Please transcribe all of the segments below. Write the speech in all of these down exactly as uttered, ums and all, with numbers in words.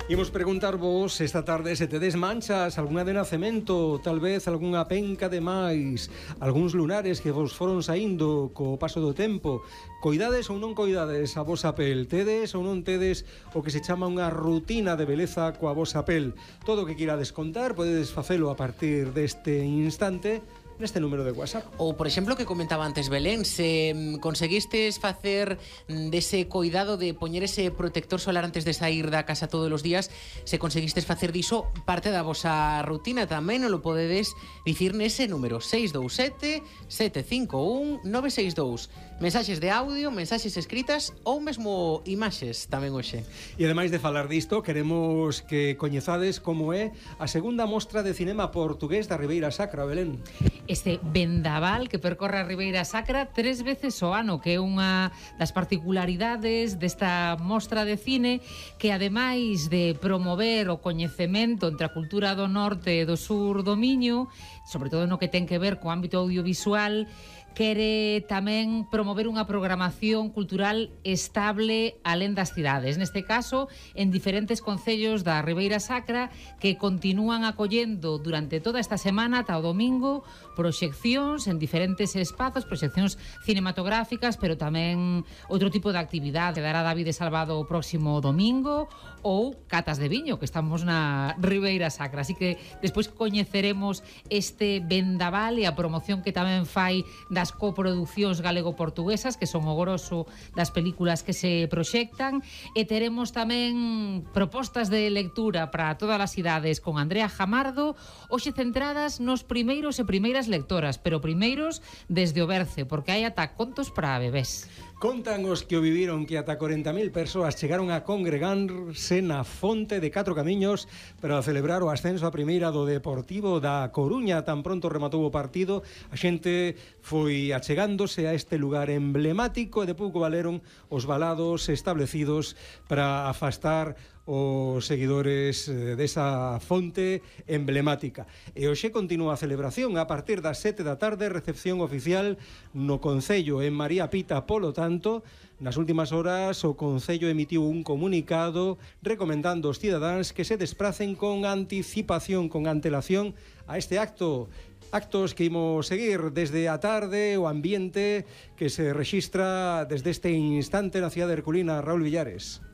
Imos preguntarvos esta tarde se tedes manchas, algunha de nacemento, tal vez algunha penca de máis, algúns lunares que vos foron saindo co paso do tempo. Coidades ou non coidades a vosa pel? Tedes ou non tedes o que se chama unha rutina de beleza coa vosa pel? Todo o que quirades contar podedes facelo a partir deste instante neste número de WhatsApp. Ou, por exemplo, que comentaba antes Belén, se conseguistes facer dese cuidado de poñer ese protector solar antes de sair da casa todos os días, se conseguistes facer diso parte da vosa rutina, tamén non lo podedes dicir nese número seis dous sete, sete cinco un, nove seis dous. Mensaxes de audio, mensaxes escritas ou mesmo imaxes tamén hoxe. E ademais de falar disto, queremos que coñezades como é a segunda mostra de cinema portugués da Ribeira Sacra, Belén. Este vendaval que percorre a Ribeira Sacra tres veces ao ano, que é unha das particularidades desta mostra de cine, que ademais de promover o coñecemento entre a cultura do norte e do sur do Miño, sobre todo no que ten que ver co ámbito audiovisual, quere tamén promover unha programación cultural estable alén das cidades. Neste caso, en diferentes concellos da Ribeira Sacra que continúan acollendo durante toda esta semana ata o domingo proxeccións en diferentes espazos, proxeccións cinematográficas, pero tamén outro tipo de actividade que dará David Salvado o próximo domingo, ou catas de viño, que estamos na Ribeira Sacra. Así que despois coñeceremos este vendaval e a promoción que tamén fai da as coproduccións galego-portuguesas, que son o grosso das películas que se proxectan, e teremos tamén propostas de lectura para todas as idades con Andrea Jamardo, hoxe centradas nos primeiros e primeiras lectoras, pero primeiros desde o berce, porque hai ata contos para bebés. Contan os que o viviron que ata corenta mil persoas chegaron a congregarse na Fonte de Catro Camiños para celebrar o ascenso a primeira do Deportivo da Coruña. Tan pronto rematou o partido, a xente foi achegándose a este lugar emblemático e de pouco valeron os valados establecidos para afastar os seguidores desa fonte emblemática. E hoxe continúa a celebración a partir das sete da tarde, recepción oficial no Concello en María Pita. Polo tanto, nas últimas horas o Concello emitiu un comunicado recomendando aos cidadáns que se despracen con anticipación, con antelación a este acto. Actos que imos seguir desde a tarde, o ambiente que se rexistra desde este instante na cidade herculina. Raúl Villares.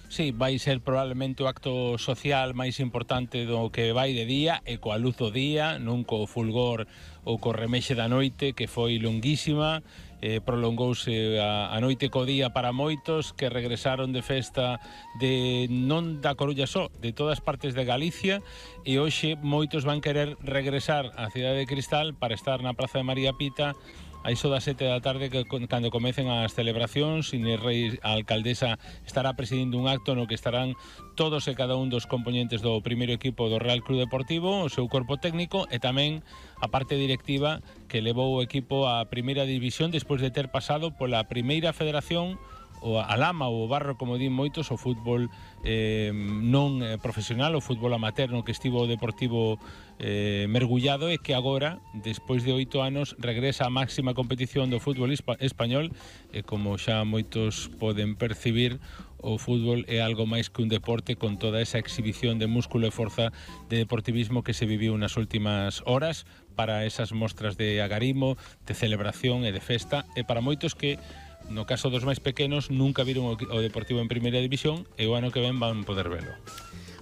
Sí, vai ser probablemente o acto social máis importante do que vai de día e coa luz do día, non co fulgor ou co remexe da noite, que foi longuísima, eh, prolongouse a, a noite co día para moitos que regresaron de festa de non da Coruña só, de todas partes de Galicia, e hoxe moitos van querer regresar á cidade de Cristal para estar na Praza de María Pita a iso das sete da tarde, que cando comecen as celebracións. Inés Reis, a alcaldesa, estará presidindo un acto no que estarán todos e cada un dos componentes do primeiro equipo do Real Club Deportivo, o seu corpo técnico e tamén a parte directiva que levou o equipo á primeira división despois de ter pasado pola primeira federación, o a lama ou o barro, como din moitos, o fútbol eh, non eh, profesional, o fútbol amateur no que estivo o Deportivo eh, mergullado, e que agora, despois de oito anos, regresa á máxima competición do fútbol español, e como xa moitos poden percibir, o fútbol é algo máis que un deporte, con toda esa exhibición de músculo e forza de deportivismo que se viviu nas últimas horas para esas mostras de agarimo, de celebración e de festa, e para moitos que, no caso dos máis pequenos, nunca viron o Deportivo en primeira división e o ano que ven van poder velo.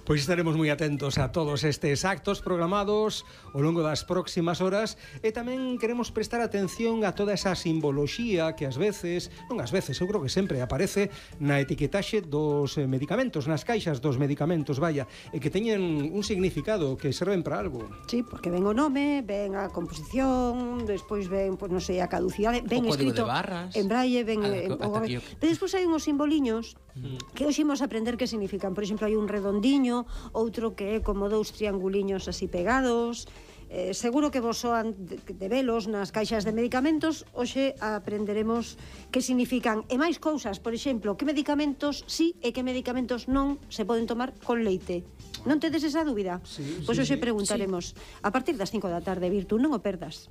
Pois estaremos moi atentos a todos estes actos programados ao longo das próximas horas, e tamén queremos prestar atención a toda esa simboloxía que ás veces, non ás veces, eu creo que sempre aparece na etiquetaxe dos medicamentos, nas caixas dos medicamentos, vaya, e que teñen un significado, que serven para algo. Sí, porque ven o nome, ven a composición, despois ven, pois non sei, a caducidade, ven o escrito en braille, ven... Ah, en, o, pero despois hai uns simboliños mm. que hoxe imos aprender que significan. Por exemplo, hai un redondiño, outro que é como dous trianguliños así pegados. Eh, seguro que vos soan de, de velos nas caixas de medicamentos. Hoxe aprenderemos que significan e máis cousas. Por exemplo, que medicamentos sí e que medicamentos non se poden tomar con leite. Non tedes esa dúbida? Sí, pois sí, hoxe sí, preguntaremos sí. A partir das cinco da tarde, Virtu, non o perdas.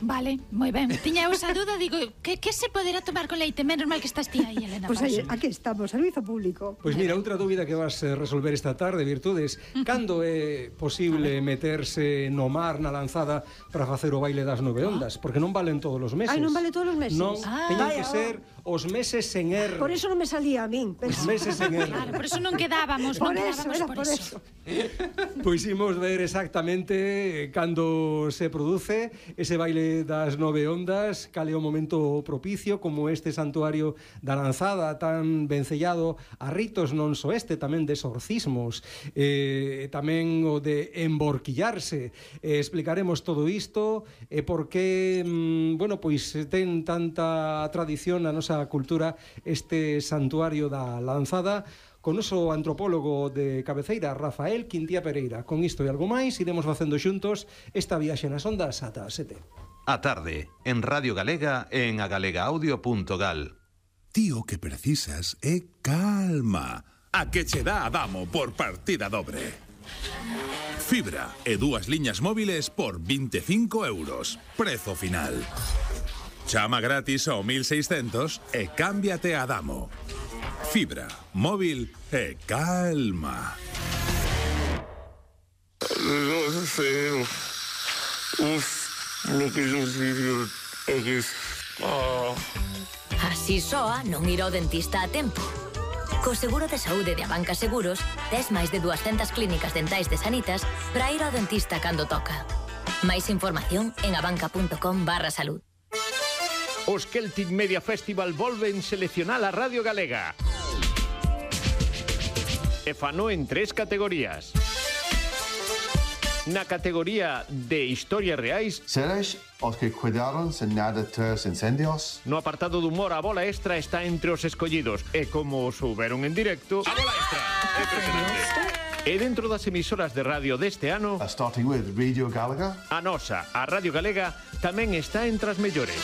Vale, moi ben. Tiña eu esa duda, digo, que, que se poderá tomar con leite? Menos mal que estás ti aí, Elena. Pois pues aí, aquí estamos, servizo público. Pois pues mira, outra dúbida que vas a resolver esta tarde, Virtudes. Cando é posible meterse no mar na lanzada para facer o baile das nove ondas? Porque non valen todos os meses. Ai, non vale todos os meses? Non, ah, teñen vaya, que ser os meses sen er. Por eso non me salía a min. Os meses sen er. Claro, por eso non quedábamos, Por non eso, quedábamos era por, por eso. eso. Pois imos ver exactamente cando se produce ese baile das nove ondas, cal é o momento propicio, como este santuario da lanzada tan vencellado a ritos non só este, tamén de exorcismos, eh, tamén o de emborquillarse. Eh, explicaremos todo isto e por que, mm, bueno, pois ten tanta tradición na nosa cultura este santuario da lanzada, con noso antropólogo de cabeceira, Rafael Quintía Pereira. Con isto e algo máis, iremos facendo xuntos esta viaxe nas ondas ata as sete. A tarde, en Radio Galega e en agalegaaudio punto gal. Ti o que precisas é calma. A que che dá Adamo por partida dobre. Fibra e dúas liñas móviles por vinte e cinco euros. Prezo final. Chama gratis ao mil seiscentos e cámbiate a Adamo. Fibra, móvil e calma. No sé. Uf, lo que yo digo é que... Oh. Así soa non ir ao dentista a tempo. Co seguro de saúde de Abanca Seguros, tes máis de duascentas clínicas dentais de Sanitas para ir ao dentista cando toca. Máis información en abanca punto com barra salud. Os Celtic Media Festival volven seleccionar a Radio Galega. E fano en tres categorías. Na categoría de historias reais, seres os que cuidaron sen nada tres incendios. No apartado de humor, a bola extra está entre os escollidos. E como souberon en directo, a bola extra é impresionante. E dentro das emisoras de radio deste ano, a starting with Radio Galega, a nosa, a Radio Galega, tamén está entre as mellores.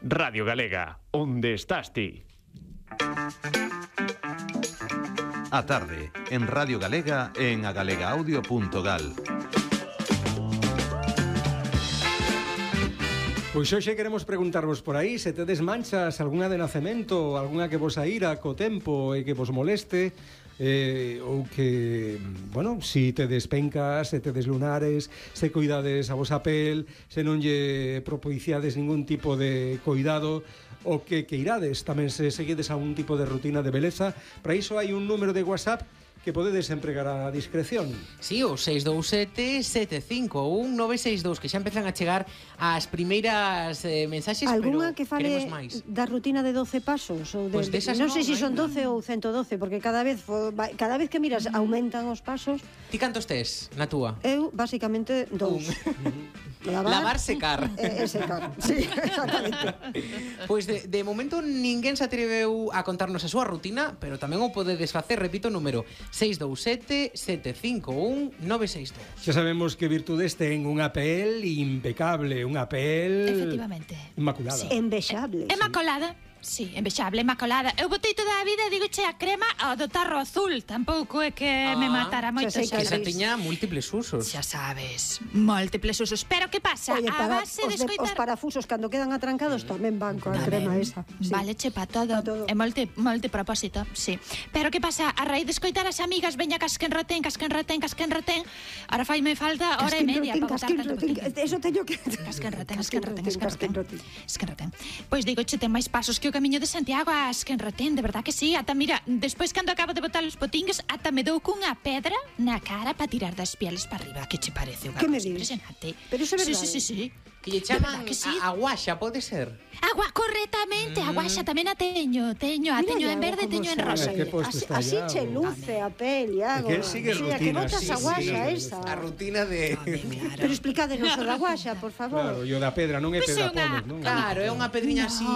Radio Galega, onde estás ti? A tarde, en Radio Galega e en agalegaaudio punto gal. Pois hoxe queremos preguntarvos por aí se tedes manchas, algunha de nacemento, algunha que vos aira co tempo e que vos moleste, eh, ou que, bueno, si tedes pencas, se tedes lunares, se cuidades a vosa pel, se non lle propiciades ningún tipo de cuidado, o que que irades, tamén se seguides a un tipo de rutina de beleza. Para iso hai un número de WhatsApp que podedes empregar a discreción. Sí, o seis dous sete, sete cinco un, nove seis dous, que xa empezan a chegar as primeiras eh, mensaxes, Alguna pero que fale da rutina de doce pasos ou de, pues desas non no, sei se si son no. doce ou ciento doce, porque cada vez fo, cada vez que miras aumentan os pasos. Ti cantos tes na túa? Eu basicamente dous. Lavar, Lavar secar. E, e secar. Sí, exactamente. Pois pues de, de momento ninguén se atreveu a contarnos a súa rutina, pero tamén o podedes facer, repito o número, seis dous sete, sete cinco un, nove seis dous. Xa sabemos que Virtudes ten unha pel impecable, unha pel... Efectivamente. Inmaculada. Sí. Envexable. Inmaculada. Sí, envexable, inmaculada. Eu botei toda a vida, digo, che, a crema ao do tarro azul. Tampouco é que ah, me matara moito. Xa sei que esa tiña múltiples usos. Xa sabes, múltiples usos. Pero que pasa? Oye, a para, base os, de de, escoitar... os parafusos, cando quedan atrancados, tamén van coa crema esa. Sí. Vale, che, pa todo. Pa todo. É multi, multipropósito, sí. Pero que pasa? A raíz de escoitar as amigas, veña casquen retén, casquen retén, casquen retén. Ahora faime falta hora e media para botar tanto potín. Eso teño que... Casquen retén, casquen retén, casquen retén. Casquen retén. Pois digo, che, ten máis pasos que o Camiño de Santiago. Asquen retén, de verdad que sí. Ata, mira, despois cando acabo de botar os potingues, ata me dou cunha pedra na cara para tirar das pieles para arriba. Que che parece unha cosa impresionante? Pero iso é verdade. Sí, sí, sí, sí. Que lle chaman que sí? a, a guaxa, pode ser? Agua, correctamente, mm. a guaxa tamén a teño, teño, a teño en verde, teño en rosa. Así, así che luce a pel, Iago. Que sigue rutina. Que botas sí, a guaxa sí, esa. A rutina de... Claro. Pero explicádenos o da guaxa, por favor. Claro, yo da pedra, non é pedra pomes, non? Claro, é unha pedriña así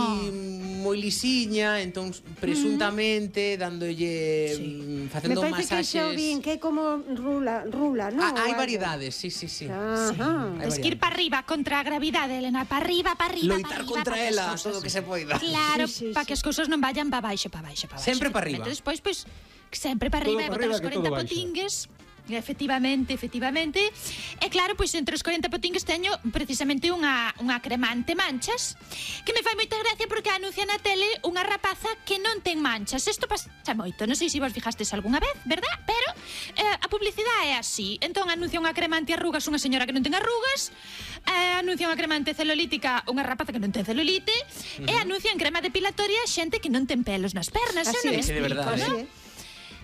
moi lisiña, entón presuntamente dándolle sí. facendo masaxes. Me parece masaxes... que xa bien, que é como rula, rula, non? Ah, hai variedades, sí, sí, sí. Ajá. Sí. Es que ir para arriba contra a gravidade, Elena, para arriba, para arriba, loitar arriba, contra ela, todo o que se poida. Claro, sí, sí, para sí. que as cousas non vayan para baixo, para baixo, para baixo. Sempre para arriba. Despois, pois, sempre para arriba, e botar os corenta potingues. Efectivamente, efectivamente. E claro, pois entre os corenta potingues teño precisamente unha, unha cremante manchas que me fai moita gracia porque anuncia na tele unha rapaza que non ten manchas. Isto pasa moito, non sei se vos fijastes algunha vez, verdad? Pero eh, a publicidade é así. Entón anuncia unha crema antiarrugas unha señora que non ten arrugas, eh, anuncia unha crema anticelulítica unha rapaza que non ten celulite, uh-huh. e anuncian crema depilatoria xente que non ten pelos nas pernas. Así Eu non é, de verdade, ¿no? eh?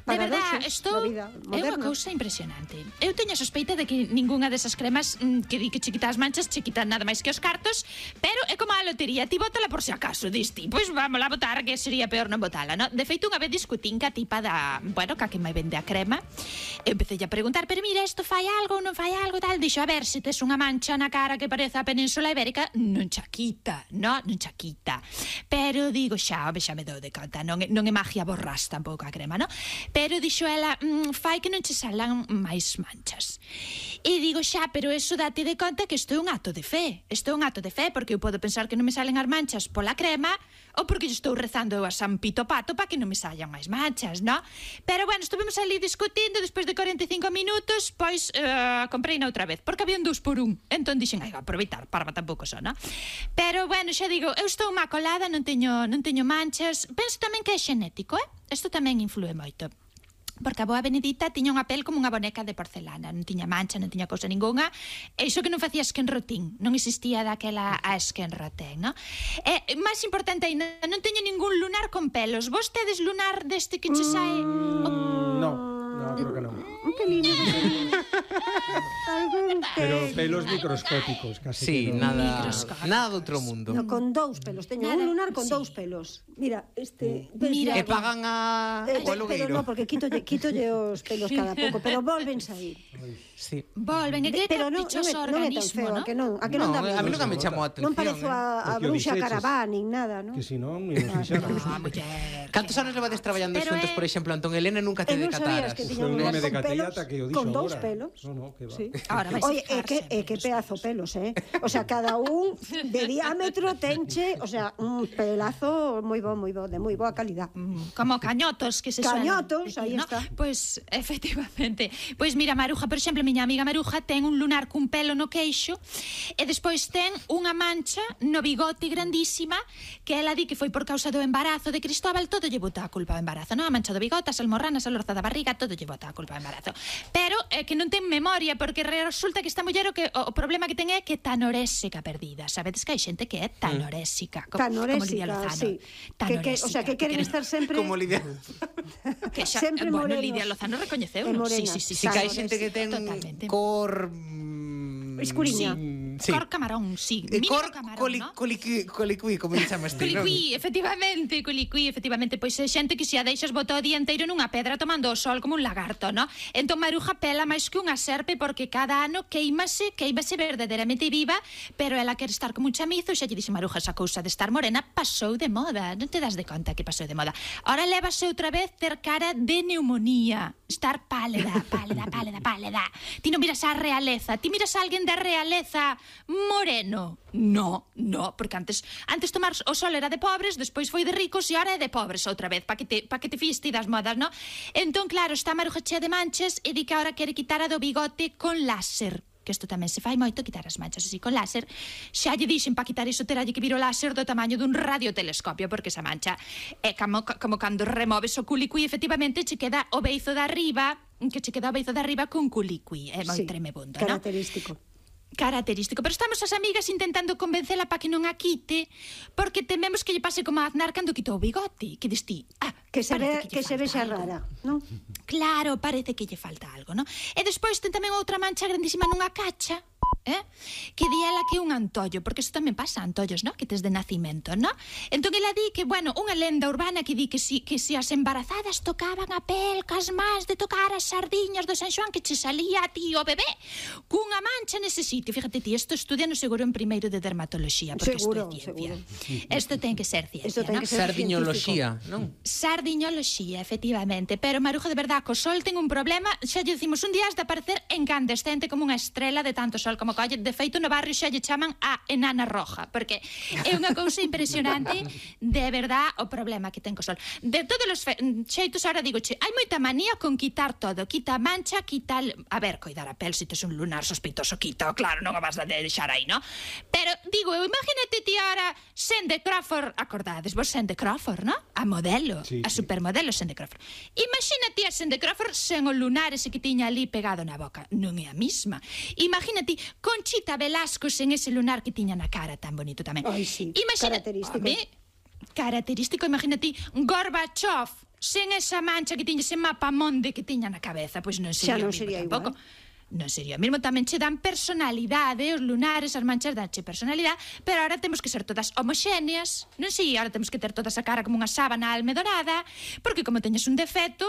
De verdade, isto é unha cousa impresionante. Eu teño a sospeita de que ningunha desas cremas mm, que di que che quita as manchas che quita nada máis que os cartos, pero é como a lotería, ti bótala por si acaso, diste, pois vamos a botar, que sería peor non botala, no? De feito, unha vez discutín ca tipa da, bueno, ca que me vende a crema, eu empecé a preguntar, pero mira, isto fai algo, non fai algo, tal, dixo, a ver, se tes unha mancha na cara que parece a Península Ibérica, non cha quita, no? Non cha quita. Pero digo, xa, ove, xa me dou de conta, non é, non é magia borrás tampouco a crema, no? Pero dixo ela, mmm, fai que non che salan máis manchas. E digo, xa, pero eso date de conta que isto é un acto de fe. Isto é un acto de fe, porque eu podo pensar que non me salen as manchas pola crema ou porque eu estou rezando a San Pito Pato para que non me sallan máis manchas, no? Pero, bueno, estuvemos ali discutindo, despois de cuarenta e cinco minutos, pois, uh, comprei na outra vez, porque había un dous por un. Entón dixen, ai, vou aproveitar, para tampouco só, no? Pero, bueno, xa digo, eu estou má colada, non teño, non teño manchas. Penso tamén que é xenético, eh? Isto tamén influe moito. Porque a boa Benedita tiña unha pel como unha boneca de porcelana, non tiña mancha, non tiña cousa ninguna, e iso que non facía esquenrotín, non existía daquela a esquenrotén, no? E máis importante ainda, non teño ningún lunar con pelos. Vos tedes lunar deste que che sae? Mm, oh. No, no, creo que non. Un pelín, un pelín. Pero pelos microscópicos, casi. Sí, que no. nada, nada de outro mundo. No, con dous pelos, teño Nada, un lunar con sí. dous pelos. Mira, este, Mira, E pagan a... Eh, o pero alugueiro. no, porque quítolle, quítolle os pelos cada pouco, pero volven sair. Sí. Volven, e que Pero non, non, dichoso é, non é tan organismo, feo, no? a que non, a que non, No, dá a mí medo. nunca me chamou a atención. Non parezo eh. a, a Porque o bruxa dixeches. Carabán, nin nada, non? Que si non, ni nos fixaron. Ah, muller. Cantos anos levades traballando Pero xuntos, é- por exemplo, Antón Elena nunca te E non sabías decataras? que tiña Foi un un lunar nome de con Catella pelos, ata que o dixo con dous agora. pelos. No, no, que va. Sí. Ahora vais Oye, a é que, é que pedazo pelos, eh? O sea, cada un de diámetro tenche, o sea, un pelazo moi bo, moi bo, de moi boa calidad. Como cañotos que se suelen Cañotos, decir, aí ¿no? está. Pois, efectivamente. Pois mira, Maruja, por exemplo, miña amiga Maruja ten un lunar cun pelo no queixo e despois ten unha mancha no bigote grandísima que ela di que foi por causa do embarazo de Cristóbal. Todo lle bota a culpa ao embarazo, non? A mancha do bigote, as almorranas, a lorza da barriga, todo lle bota a culpa ao embarazo. Pero é que non ten memoria, porque resulta que esta muller o, que, o, o problema que ten é que é tanorésica perdida. Sabedes que hai xente que é tanorésica. Co, como Lidia Tanorésica, Lozano. sí. Que, que, o sea, que queren estar sempre... Como Lidia. Que xa, Sempre bueno, morenos. Lidia Lozano recoñeceu, E non? morenas. Sí, sí, sí. Si que hai Claro, xente que ten totalmente. cor... mm, Escuriña. Sí. Cor camarón, sí. Eh, Mínimo Cor camarón, coli, ¿no? coliqui, coliqui, como lle chamas ti, non? Colicuí, efectivamente, colicuí, efectivamente. Pois é xente que se a deixas botar o día inteiro nunha pedra tomando o sol como un lagarto, no? Entón Maruja pela máis que unha serpe porque cada ano queimase, queimase verdadeiramente viva, pero ela quere estar como un chamizo e xa lle dixe Maruja, esa cousa de estar morena pasou de moda. Non te das de conta que pasou de moda. Ahora lévase outra vez ter cara de neumonía, estar pálida, pálida, pálida, pálida. Ti non miras a realeza, ti miras a alguén da realeza moreno. No, no, porque antes antes tomar o sol era de pobres, despois foi de ricos e ahora é de pobres outra vez, para que te pa que te fíes ti das modas, no? Entón, claro, está Maruja chea de manchas e di que ahora quere quitar a do bigote con láser, que isto tamén se fai moito, quitar as manchas así con láser. Xa lle dixen para quitar iso teralle que vir o láser do tamaño dun radiotelescopio, porque esa mancha é como, como cando removes o culicuí, efectivamente che queda o beizo de arriba, que che queda o beizo de arriba con culicuí, é moi Sí, tremebundo, non? característico. Característico, pero estamos as amigas intentando convencela para que non a quite, porque tememos que lle pase como a Aznar cando quitou o bigote, que distí, ah, Que se ve parece que lle se falta vexa algo. rara, non? Claro, parece que lle falta algo, non? E despois ten tamén outra mancha grandísima nunha cacha, eh? Que di ela que é un antollo, porque isto tamén pasa, antollos, no? Que tes de nacimento, no? Entón ela di que, bueno, unha lenda urbana que di que si, que si as embarazadas tocaban a pel cas más de tocar as sardiñas do San Xoán, que che salía a ti o bebé cunha mancha nese sitio. Fíjate ti, isto estudiano seguro en primeiro de dermatoloxía, porque Seguro, isto é ciencia. seguro. Isto ten que ser ciencia, Isto ten no? que ser Sardiñoloxía, non? Sardiñoloxía, efectivamente. Pero Maruja, de verdad, co sol ten un problema. Xa lle dicimos un día has de aparecer incandescente como unha estrela de tanto sol como como colle, de feito no barrio xa lle chaman a enana roja, porque é unha cousa impresionante, de verdad, o problema que ten co sol. De todos os xeitos, ahora digo, che, hai moita manía con quitar todo, quita a mancha, quita, a ver, coidar a pel, se tes un lunar sospeitoso, quita, claro, non o vas a deixar aí, no? Pero, digo, imagínate ti ahora Cindy Crawford, acordades vos Cindy Crawford, no? A modelo, sí, a supermodelo Cindy Crawford. Imagínate a Cindy Crawford sen o lunar ese que tiña ali pegado na boca, non é a mesma. Imagínate Conchita Velasco sen ese lunar que tiña na cara tan bonito tamén. Ai, sí, Imagina... característico. Home, característico, imagínate Gorbachev sen esa mancha que tiña, ese mapa monde que tiña na cabeza, pois non sería, xa non o mismo sería tampouco. Igual. Non sería mesmo, tamén che dan personalidade, os lunares, as manchas danche personalidade, pero ahora temos que ser todas homoxéneas, non sei, ahora temos que ter toda esa cara como unha sábana almedorada, porque como teñes un defecto,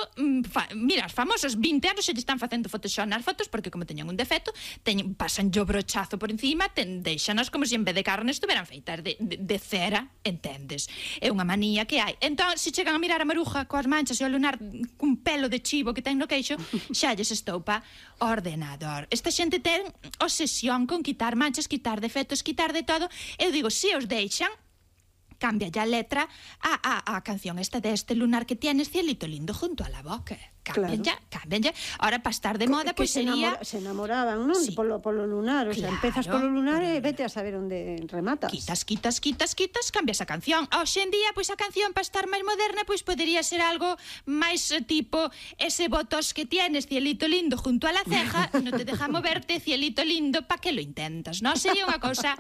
fa, mira, os famosos vinte anos se lle están facendo photoshop nas fotos, porque como teñen un defecto, teñen, pasan yo brochazo por encima, ten, deixanos como se en vez de carne estuveran feitas de, de, de cera, entendes? É unha manía que hai. Entón, se chegan a mirar a maruja coas manchas e o lunar cun pelo de chivo que ten no queixo, xa lles estoupa ordenado. Esta xente ten obsesión con quitar manchas, quitar defectos, quitar de todo. Eu digo, se os deixan, cambia ya a letra a, a, a canción esta de este lunar que tienes, cielito lindo junto a la boca. Cambian claro. ya, cambian ya. Ahora, para estar de moda, pois pues, sería... Se enamoraban, non? Sí. Polo, polo lunar, o sea, claro, empezas polo lunar e vete a saber onde rematas. Quitas, quitas, quitas, quitas, cambias a canción. Hoxe en día, pois pues, a canción, para estar máis moderna, pois pues, podería ser algo máis tipo ese botos que tienes, cielito lindo, junto a la ceja, non te deja moverte, cielito lindo, pa que lo intentas, non? Sería unha cousa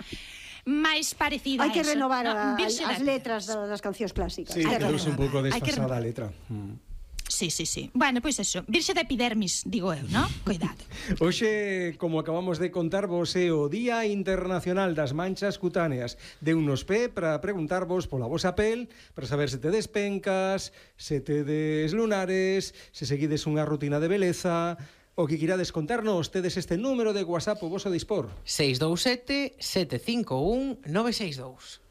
máis parecida a eso. Hai que renovar no, a, as letras das cancións clásicas. Sí, quedouse un pouco desfasada a letra. Mm. Sí, sí, sí. Bueno, pois pues eso, virxe da epidermis, digo eu, non? Cuidado. Hoxe, como acabamos de contarvos, é o Día Internacional das Manchas Cutáneas. De unos pé para preguntarvos pola vosa pel, para saber se tedes pencas, se tedes lunares, se seguides unha rutina de beleza. O que quirades contarnos, tedes este número de WhatsApp o voso dispor. seis dous sete, sete cinco un, nove seis dous.